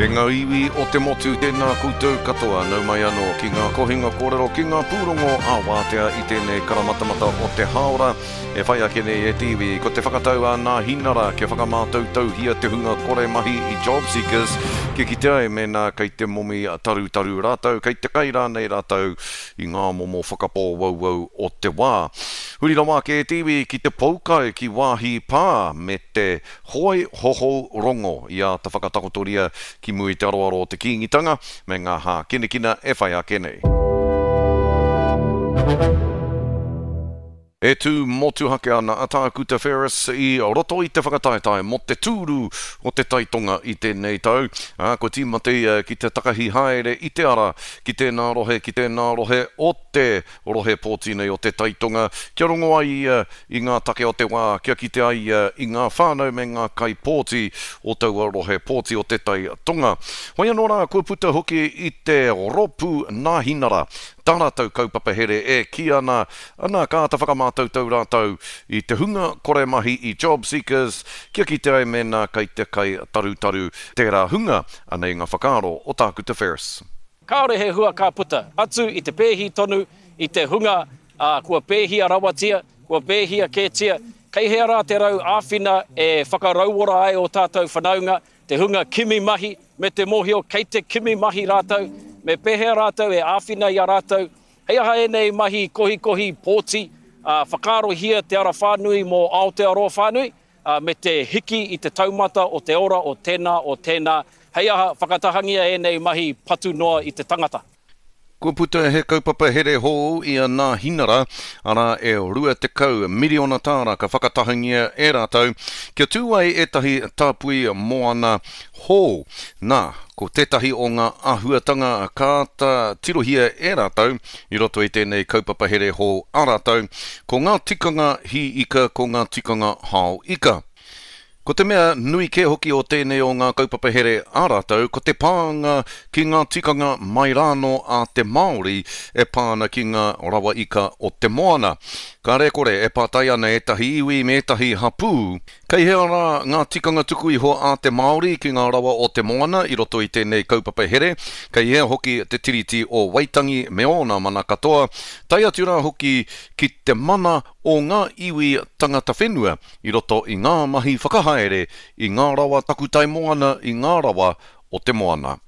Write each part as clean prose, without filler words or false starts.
E ngā iwi o te motu, tēnā koutou katoa, nau mai anō ki ngā kohinga kōrero, ki ngā pūrongo ā-wātea i tēnei karamatamata o te hāora e whai ake nei e te iwi. Ko te whakatau a Nāhinara kia whakamātautauhia te hunga kore mahi i Jobseekers kia kite ai mēnā kei te momi tarutaru rātou, kei te kai rānei rātou i ngā momo whakapōwauwau o te wā. Huri rawa ake e te iwi ki te poukai ki wāhi pā me te hoi hohou rongo i āta whakatakotoria ki mua i te aroaro o te Kīngitanga me ngā hākinakina e whai ake nei. E tū motuhake ana a Tākuta Ferris i roto i te whakataetae mō te tūru o te Tai Tonga i tēnei tau, ā, kua tīmata ia ki te takahi haere i te ara ki tēnā rohe, ki tēnā rohe o te rohe pōti nei o te Tai Tonga, kia rongo ai ia i ngā take o te wā, kia kite ai ia i ngā whānau me ngā kaipōti o taua rohe pōti o te Tai Tonga. Hoi anō rā, kua puta hoki i te Rōpū Nāhinara tā rātou kaupapa here e kī ana, ana ka āta whakamātautau rātou i te hunga kore mahi i JobSeekers kia kite ai mēnā kei te kai tarutaru tērā hunga, anei ngā whakaaro o Tākuta Ferris. Kāore he hua ka puta, atu i te pēhi tonu i te hunga, ā, kua pēhia rawatia, kua pēhia kētia, kei hea rā te rau āwhina e whakarauora ai ō tātou whanaunga, te hunga kimi mahi, me te mōhio kei te kimi mahi rātou, me pēhea rātou e āwhina i a rātou, hei aha ēnei mahi kohikohi pōti, ā, whakaarohia te ara whānui mō Aotearoa whānui, ā, me te hiki i te taumata o te ora o tēnā, o tēnā, hei aha, whakatahangia ēnei mahi patu noa i te tangata. Kua puta he kaupapa here hou i a Nāhinara, arā e 20 miriona tāra ka whakatahangia e rātou kia tū ai ētahi tāpui moana hou. Nā, ko tētahi o ngā āhuatanga ka āta tirohia e rātou i roto i tēnei kaupapa here hou a rātou, ko ngā tikanga hī ika, ko ngā tikanga hao ika. Ko te mea nui kē hoki o tēnei o ngā kaupapa here a rātou, ko te pānga ki ngā tikanga mai rānō a te Māori e pā ana ki ngā rawa ika o te moana. Kāre kore e pātai ana ētahi iwi me ētahi hapū, kei hea rā ngā tikanga tuku iho a te Māori ki ngā rawa o te moana i roto i tēnei kaupapa here, kei hea hoki te Tiriti o Waitangi me ōna mana katoa, tae atu rā hoki ki te mana o ngā iwi tangata whenua i roto i ngā mahi whakahaere i ngā rawa takutai moana i ngā rawa o te moana.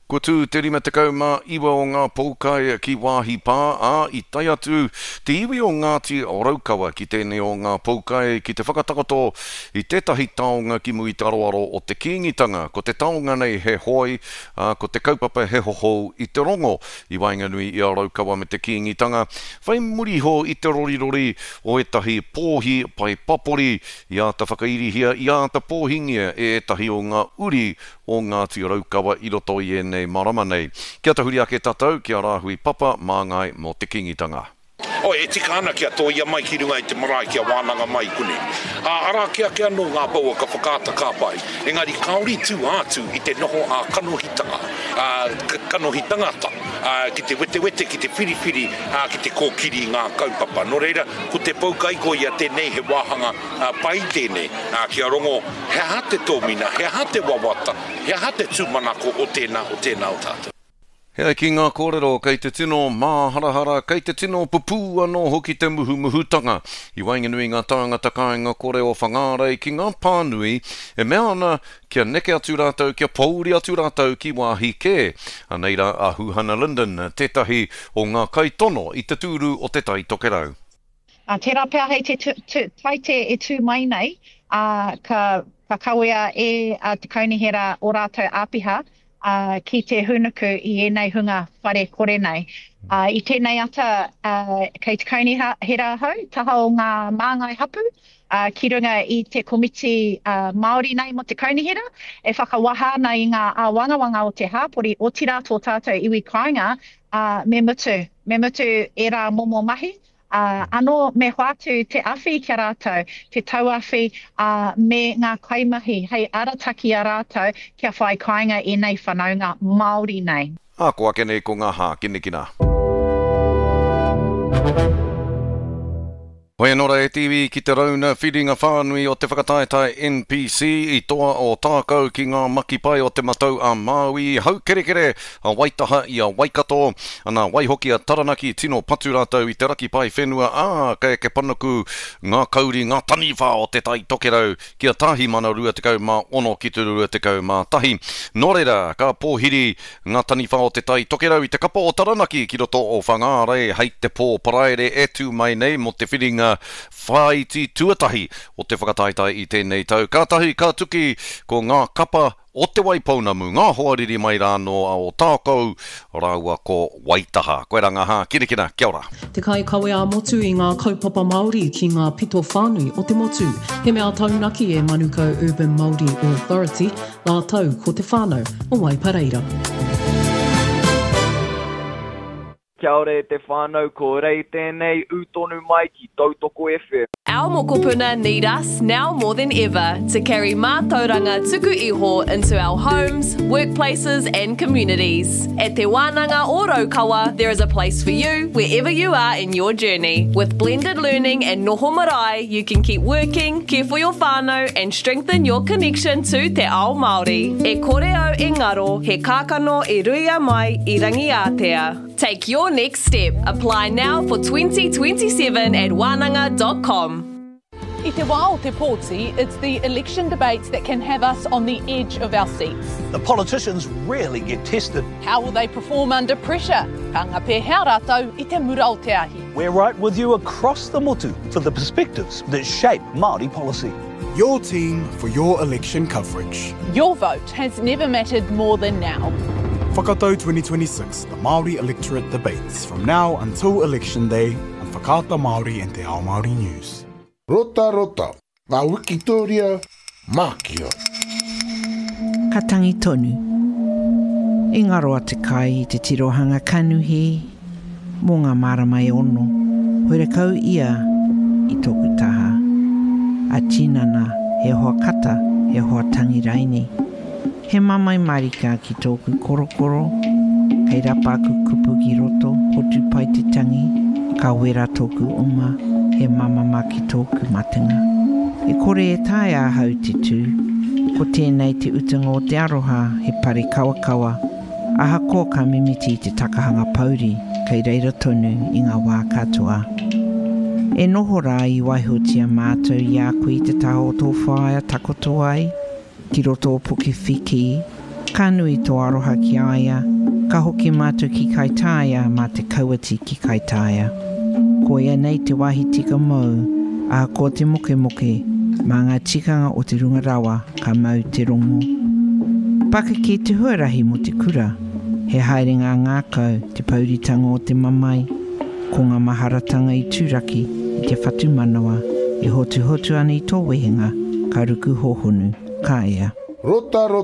Kua tū te 59 o ngā poukai ki Waahi Pā, ā, i tae atu te iwi o Ngāti Raukawa ki tēnei o ngā poukai ki te whakatakoto i tētahi taonga ki muri te aroaro o te Kīngitanga. Ko te taonga nei he hoi, ā, ko te kaupapa he hohou i te rongo i waenganui i a Raukawa me te Kīngitanga, whai muri iho i te rorirori o ētahi pōhi pae papori i āta whakairihia, i āta pōhingia e ētahi o ngā uri o Ngāti Raukawa i roto i ēnei marama nei. Kia tahuri ake tātou ki a Rāhui Papa Māngai mō te Kīngitanga. Oi, e tika ana kia tōia mai ki runga i te marae kia wānanga mai i konei. Ā, arā kē ake anō ngā pouaka whakaata ka pai, engari kāore i tū ātu i te noho ā-kanohitanga, ā, kanohi tangata, ā, ki te wetewete, ki te whiriwhiri, ā, ki te kōkiri i ngā kaupapa. Nō reira, ko te poukai koia tēnei he wāhanga pai tēnei, ā, kia rongo he aha te tōmina, he aha te wawata, he aha te tūmanako o tēnā, o tēnā o tātou. He ai ki ngā kōrero, kei te tino māharahara, kei te tino pupū anō hoki te muhumuhutanga i waenganui i ngā tāngata kāinga kore o Whangārei ki ngā pānui e mea ana kia neke atu rātou, kia pōuri atu rātou ki wāhi kē. Anei rā a Huhana Lyndon, tētahi o ngā kaitono i te tūru o Te Tai Tokerau. Ā, tērā pea hei te Taite e tū mai nei, ā, ka, ka kawea e te Kaunihera ō rātou āpiha, ā, ki te hūnuku i ēnei hunga whare kore nei. Ā, i tēnei ata, ā, kei te Kaunihera ahau, taha o ngā māngai hapū, ā, ki runga i te komiti, ā, Māori nei mō te Kaunihera, e whakawaha ana i ngā āwangawanga o te hāpori, otirā tō tātou iwi kāinga, ā, me mutu, me mutu ērā momo mahi, ā, anō me hoatu te awhi ki a rātou, te tauawhi, ā, me ngā kaimahi hei arataki i a rātou kia whai kāinga ēnei whanaunga Māori nei. Ā, ko ake nei ko ngā hākinakina. Hoi anō rā e te iwi ki te rauna whiringa whānui o te whakataetae NPC i toa o Tākou ki ngā makipai o Te Matau a Māui, haukerekere a Waitaha i a Waikato, ana waihoki a Taranaki tino patu rātou i te raki pae whenua, ā, ka eke panuku ngā kauri, ngā taniwha o Te Tai Tokerau ki a Tāhimana 26 ki te 21. Nō reira, ka pōhiri Ngā taniwha o Te Tai Tokerau i te kapa o Taranaki ki roto o Whangārei hei te pō Paraire e tū mai nei mō te whiringa whāiti tuatahi o te whakataetae i tēnei tau. Kātahi ka tuki ko ngā kapa o Te Waipounamu, ngā hoariri mai rā nō a Ōtākou rāua ko Waitaha. Koirā ngā hākinakina. Kia ora. Te kaikawe ā-motu i ngā kaupapa Māori ki ngā pito whānui o te motu. He mea taunaki e Manukau Urban Māori Authority, Rātou ko te whānau o Waipareira. Kia ora e te whānau, ko Rei tēnei, ū tonu mai ki Tautoko FM. Our mokopuna need us now more than ever to carry mātauranga tuku iho into our homes, workplaces and communities. At Te Wānanga o Raukawa, there is a place for you wherever you are in your journey. With blended learning and noho marae, you can keep working, care for your whānau and strengthen your connection to te ao Māori. E kore au e ngaro, he kākano i ruia mai i Rangiātea. Take your next step. Apply now for 2027 at wānanga dot com. I te wā o te pōti, it's the election debates that can have us on the edge of our seats. The politicians rarely get tested. How will they perform under pressure? Ka anga pēhea rātou i te mura o te ahi? We're right with you across the motu for the perspectives that shape Māori policy. Your team for your election coverage. Your vote has never mattered more than now. Whakatau 2026, the Māori Electorate Debates from now until Election Day on Whakaata Māori and Te Ao Māori News. Rotarota, ngā wikitōria mākia. Ka tangi tonu. I ngaro a Te Kai i te tirohanga kanuhi mō ngā marama e ono, horekau ia i tōku taha. A tinana, he hoa kata, he hoa tangi raini. He mamae marika ki tōku korokoro, kei rapa aku kupu ki roto, hotu pai te tangi, ka wera tōku oma, he mamama ki tōku matenga. E kore e taea ahau te tū, ko tēnei te utanga o te aroha, he pare kawakawa, Ahakoa ka mimiti i te takahanga pouri, kei reira tonu i ngā wā katoa. E noho rā i waihotia mātou i a koe i te taha o tō whaea takoto ai, ki roto o Pukewhiki, ka nui tō aroha ki a ia, ka hoki mātou ki Kaitāia mā te kauati ki Kaitāia. Koia nei te wāhi tika mōu, ahakoa te mokemoke, mā ngā tikanga o te runga rawa, Ka mau te rongo. Pakeke te huarahi mo te kura. He haerenga ngākau, te pouritanga o te mamae, ko ngā maharatanga i turaki i te whatumanawa e hotuhotu ana i tō wehenga, ka ruku hohonu, ka ea. Rotarota.